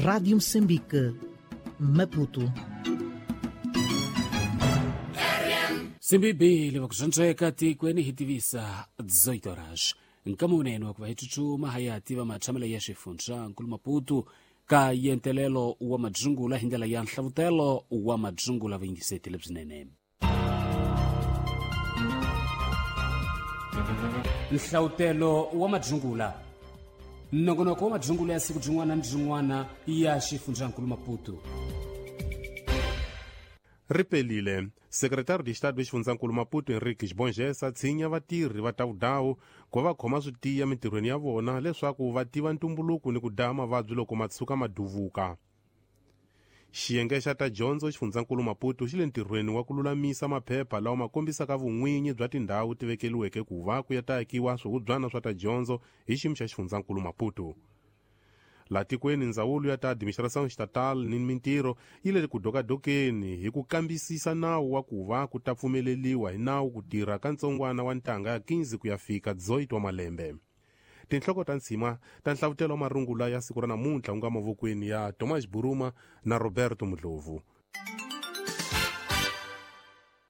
Rádio Moçambique, Maputo. Simbibili vakuxantsweka tikweni hi tivisa 18 horas nkama wunene wa ku va hi tsutsuma ha ya tiva matshamelo ya xifundza nkulu Maputo ka yentelelo wa madzungula hi ndlela ya nhlavutelo wa madzungula vuyingiseti lebyinene. Nhlavutelo wa madzungula, nongonoko wa madzungula ya siku byin'wana ni byin'wana ya xifundzankulu Maputo. Ripelile sekretari de Estado exifundzankulu Maputo Henrique Xibongesa tshinya vatirhi va ta vudawu ku va va khoma swi tiya mintirhweni ya vona leswaku va tiva ntumbuluko ni ku daya mavabyi loko ma tshuka ma duvuka. Xiyenge xa ta dyondzo xifundzankulu Maputo xi le ntirhweni wa ku lulamisa maphepha lawa ma kombisaka vun'winyi bya tindhawu ti vekeliweke ku va ku ya ta akiwa swihubyana swa ta dyondzo hi xiyimo xa xifundzankulu Maputo. La tikweni ndzawulo ya ta administração estatal ni mintirho yi le ku dokadokeni hi ku kambisisa nawu wa ku va ku ta pfumeleliwa hi nawu ku tirha ka ntsongwana wa ntanga ya 15 ku ya fika 18 wa malembe. Tinhloko ta ntshima ta nhlavutelo wa marungula ya siku ra namuntlha wu nga mavokweni ya Thomas Buruma na Roberto Mudlovu.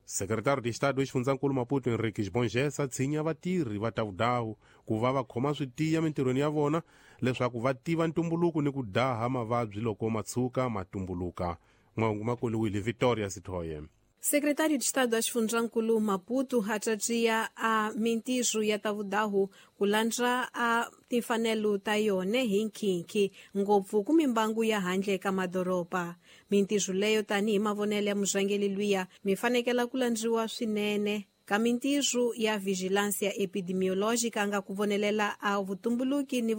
Sekretari de Estado exifundzankulu Maputo Henrique Xibongesa tshinya vatirhi va ta vudawu ku va va khoma swi tiya mintirhweni ya vona leswaku va tiva ntumbuluko ni ku daha mavabyi loko ma tshuka ma tumbuluka. Mahungu ma koliwile Victoria Sithoye. Secretário de Estado da Xifundzankulu Maputo atratia a mintirho ya tavudahu ku landza a timfanelo ta yona hi nkhinkhi ngopfu ku mimbangu ya handle ka madoroba. Mintirho leyo tanihi mavonelo ya murhangeri luya mi fanekela ku landziwa swinene ka mintirho ya vigilância epidemiológica nga ku vonelela a vutumbuluki ni.